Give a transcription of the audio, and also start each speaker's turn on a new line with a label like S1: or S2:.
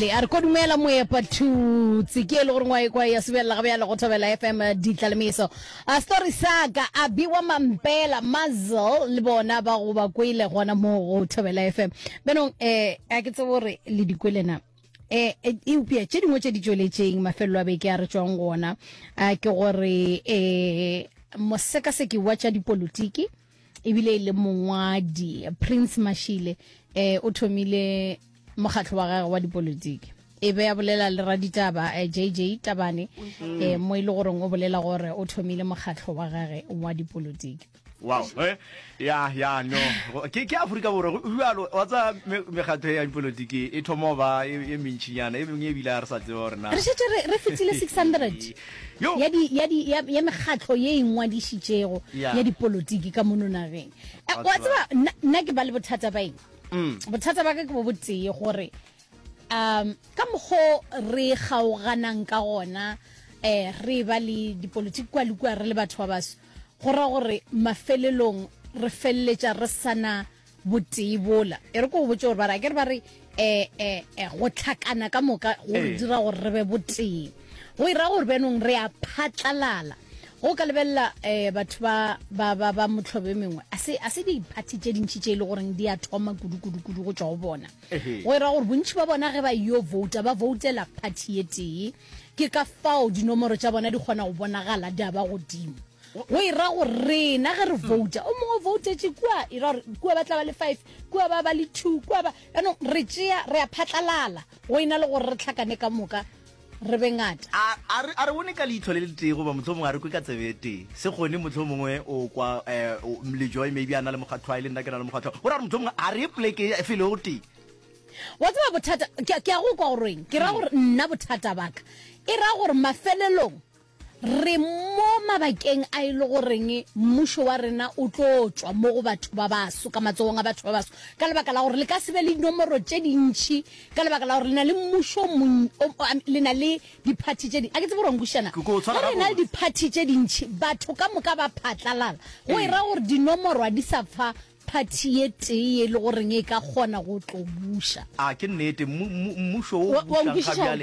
S1: Mabele a re kodumela moepa thutse ke e le gore ngwa ekwa ya sebelela ga bjale go thobela FM ditlalemeso a story sa ka a biwa mampela muzzle le bona ba go ba kwele gona mo go thobela FM benong eh a ke tsebe gore le di kwele na eh eupša tše dingwe tše di tšweletšeng mafelelo a beke a re tšwang gona a ke gore eh mosekaseki wa tša dipolotiki ebile e le mongwadi Prince Mashile eh o thomile mokgatlo wa gagwe wa dipolotiki e be a bolela le raditaba JJ eh, Tabane mm. eh, mo e le goreng o bolela gore o thomile mokgatlo wa gage wa dipolotiki
S2: wow eh, ya ya no ke ke Afrika Borwa go bjalo wa tsa mekgatlo ya dipolotiki e thoma ba e, e mentšinyana e mengwe e bile a re sa tseba gore na
S1: re šetše re fetile 600 ya di ya di ya ya mekgatlo ye e ngwadišitšego ya dipolotiki ka mono nageng. Eh, wa tseba nna ke ba le bothata ba eng? Mm. Bothata ba ka ke bo botee gore um ka mokgo re kgaoganang ka gona eh re ba le dipolotiki kwa le kua re le batho ba baso go ra gore mafelelong re feleletša re sana botee bola. E re ko go botše gore ba re, akere ba re eh, eh, eh, go tlhakana ka moka go re dira gore re be botee. Go ira gore bjanong re a phatlalala. Go ka lebelela eh, batho ba, ba, ba, ba motlhobo e mengwe, a se, a se diphathi tše dintši tše e le goreng di a thoma kudu, kudu, kudu go tšwa go bona. Go ira gore bontši ba bona ge ba yo vouta, ba voutela phathi ye tee. Ke ka fao dinomoro tša bona di kgona go bonagala di a ba godimo. Go e ra gore rena ge re vouta, o mongwe o voutetše kua, e ra gore kua ba tla ba le five, kua ba ba le two, kua ba, jaanong re tšea, re a phatlalala, go e na le gore re hlakane ka moka re be ngata.
S2: A, a re, a re bone ka leihlo le letee goba mohlomongwe a re kwe ka tsebe e tee. Se kgone mohlomongwe o kwa um, Lejoy maybe a na le mokgatlo, le nna ke na le mokgatlo. Go ra gore mohlomongwe a re ye poleke e felo go tee.
S1: Wa tseba bothata, ke, ke a go kwa gore eng, ke ra gore nna bothata ba ka, e ra gore mafelelong, Re mo mabakeng a e le goreng mmušo wa rena o tlo tšwa mo go batho ba baso, ka matsogong a batho ba baso, ka lebaka la gore le ka se be le dinomoro tše dintši, ka lebaka la gore le na le mmušo o le na le diphathi tše di, a ke tsebe gore wa nkwešiša na? Ge re na le diphathi tše dintši, batho ka moka ba phatlalala, go e ra gore dinomoro ga di sa fa phathi ye tee ye e le goreng e ka kgona go tlo buša.
S2: A ke nnete, mmušo wo o bušang ga bjale.